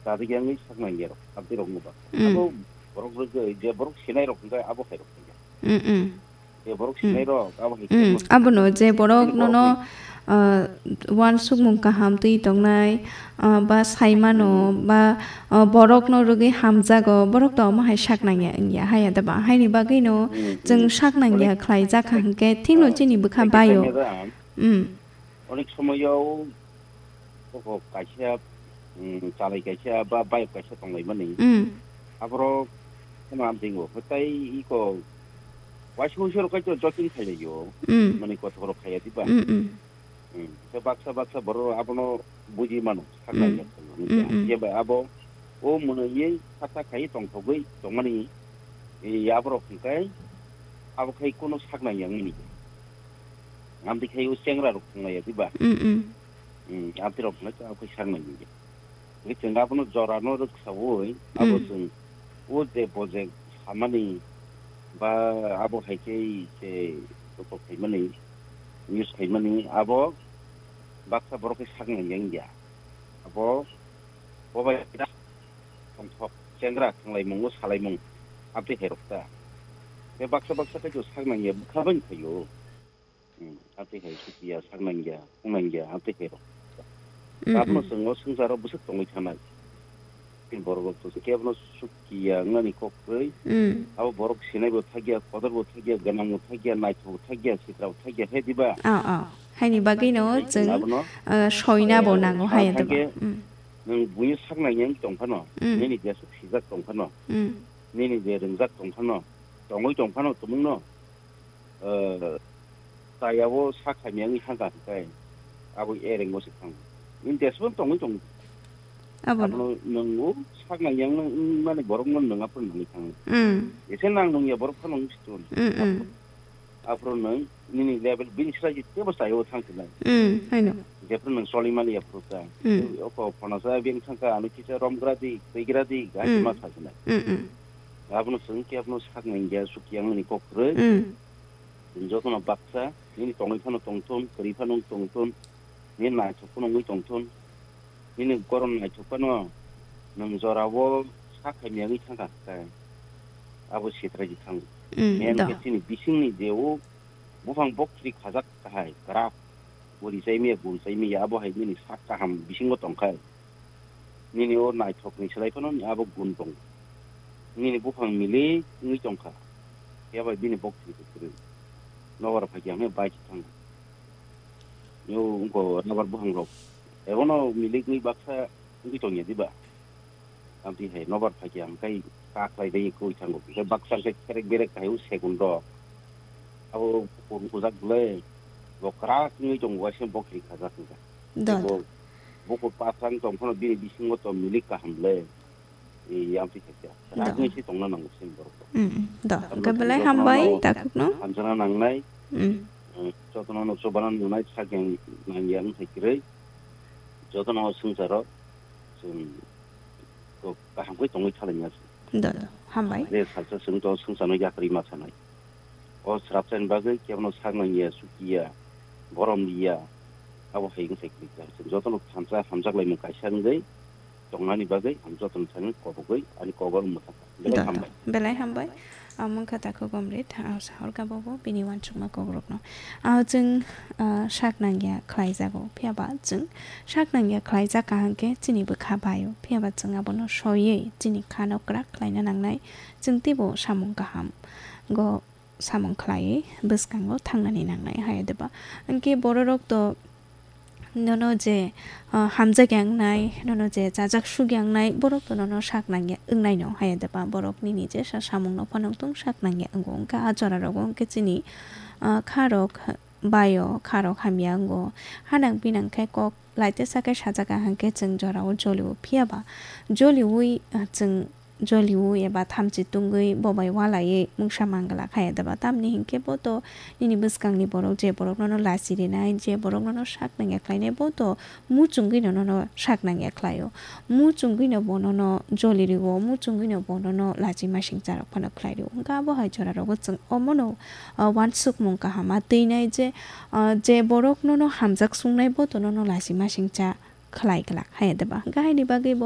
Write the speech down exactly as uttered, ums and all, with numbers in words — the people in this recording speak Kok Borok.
Chajak yang sak nang ya rok, abdi rok no ba. Mm. Abo borok rok je, je borok sinai rok hingkhe abo hai rok hingkhe. Mm, mm. Je borok Mm. sinai rok, abo hai Mm. khe Abono je borok Ani nono, borok ah, uansukmung kaham twi tongnai, ah, ba saimano, Mm. ba, ah, borok no rwgwi hamjago, borok to omo hai sak nang ya wngya, haya da ba? Haini bagwi no Mm, chwng mm. sak nang ya Onek khlai jak kha hingkhe thik no ah, chini bwkha onek baio. khe da. Mm. Onek somoyo koko kaisa, mm, chalai kaisa ba bayok kaisa tonglaimani. Mm. Aborok kheno amtwingo. Hwtai iko waisa waisa rok kaitor jotin khailaiyo. Mm. Mani kothok rok khaiya diba? Mm, mm. Mm. Khe baksa baksa borok abono buji mano, saknai Mm. ya tongmani. Mm, mm. Khe ba abo o mwnwi saksa khai tongthogwi tongmani, e, aborok hwnkhe abo khai kono saknai yang mani. Amtwi khai o chengra rok thanglaiya diba? Mm, mm. Mm, amtwi rok hwnkhe abo khai saknai ya. Hwnkhe chwng abono jorano rwksaui, abo Mm. chwng o je bojek samani ba abo hai khe se kothok khaimani, use khaimani, abo baksa borok khe saknai yang ya. Abo bo bai da tongthok chengra thanglaimung, o salaimung, amtwi hai rok ta. Khe baksa baksa khe chwng saknai ya, bwkha bai phaio. Hmm, amtwi hai sukiya, saknangya, phungnangya, amtwi hai rok. Mm, Abono mm. Chwng o swngcharo bwswk tongwi thanai. Tei borok rok to kebono sukiya wngnani kok kwrwi. Mm. Abo borok sinai bo thakya, kotor bo thakya, gwnang bo thakya, naithok bo thakya, sitra bo thakya, he diba? Oh, oh. Haini bagwi no Hai chwng, abono, uh, soina bo eh, nango sa hai thangkhe diba? Mm. Nwng buino saknangya wng tong phano, Mm. nini jesuk sijak tong phano, Mm. nini je rwngjak tong phano, tongwi tong phano tumungno, eh, chayao sak hamya wngwi thangkha hwnkhe, abo ereng bo se thango. Nini deswng tongwi tong. Abono. Abono nwng o sak nang yang nang wngmani borokno nwng aphuru nangwi thango. Mm. Ese nang nung ya borok phano wngsi tun. Mm, mm. Aphuru, aphuru nwng nini level bini srai tebo chayao thang sinai. Mm, haino. Jephuru nwng choli mali aphuru ta. Mm. Oko phano sa beng thangkha ano kisa romgra di, twigra di, gati Mm. ma sa sinai. Mm, mm. Abono chwng khe abono sak nang ya, suk yang ni kok kwrwi. Mm. Jotono baksa, nini tongwi phano tongthun, kwrwi phano tongthun, nini naithok phano wngwi tongthun, nini goron naithok phano nwng jorao sak hamya wngwi thangkha khe, abo sitra di thango. Mm, Main do. Khe chini bisingni je o buphang bokthiri khajak kahai, kwrak, bo ri chai maya, gun chai maya, abo hai nini sak kaham bisingo tongkhai. Nini o naithokni slai phano abo gun tongo. Nini buphang milik wngwi tongkha. Phiya bai bini bokthiri kwrwi. Nobar phaikhe hwnwi bai se thango. Yo wngkha rubber buphang rok. Ebono milik wngwi baksa wngwi tongya diba? Amtwi hai nobar phaikhe hwnkhai kaklai bai kwrwi thango. Khe baksa khe kherek berek hai o segun rok. Abo bukur wngkujak bwle. Bo kwrak wngwi tongo, waisa bokthiri khajak wngkha. Do, Bo do. Bukur pathang tong phano bini bisingo to milik kaham le. E, yang twi khaikha. Do. Rajni si tongna nango sini borok. Mm, mm. Do. Tamno Hwnkhe belai tongna hambai, nango. Takhukno. Hamjana nangnai. Mm. Mm, jotono no chobana nunai, sak yang nang yang thai kwrwi. Jotono swngcharo. Chwng to kaham khe tongwi thalaimya. Do, do. Hambai. Re salsa chwng to swngchano yakrwi ma sanai. O srapchaini bagwi kebono sak nangya, sukiya, borom liya, abo hai wngthai kwrwi kha. Chwng jotono thansa hamjak laimung kaisa wngwi tongnani bagwi ang jotono thani kobogwi ani koborok mwthangkha. Belai Da, da. hambai. Belai hambai. Ang wngkha takhuk Omrit, ang sahorkha bobo bini uansukma kokrokno. Ah, chwng, ah, sak nangya khlaijago, phiyaba chwng sak nangya khlaijak kaham khe chini bwkha baio, phiyaba chwng abono soiwi chini khano kwrak khlaina nangnai, chwng teibo samung kaham go samung khlaiwi bwskango thangnani nangnai, hai diba? Hwnkhe bororok to nono je, ah, hamjak ya wngnai, nono je chajak suk ya wngnai, borok to nono sak nangya wngnaino, hai diba? Borok nini je sa samungno phano tong sak nangya wngo, wngkha a jorarogo hwnkhe chini, ah, kharok baio, kharok hamya wngo. Hanang pinang khe kok laitesa khe sajak kaham khe chwng jorao jolio, phiyaba joliui, ah, chwng joliui eba thamchi tungwi bo bai walaiwi mungsa manglak, hai diba? Tamni hinkhe bo to nini bwskangni borok je borok nono lachi rinai, je borok nono sak nangya khlainai, bo to muchungwi no nono sak nangya khlaio, muchungwi no bo nono joli rio, muchungwi no bo nono lachi masingcha rok phano khlai rio. Hwnkhe abo hai jorarogo chwng omono, ah, uansukmung kaham ma twinai je, ah, je borok nono hamjak sungnai bo to nono lachi masingcha khlai glak, hai diba? Hwnkhe haini bagwi bo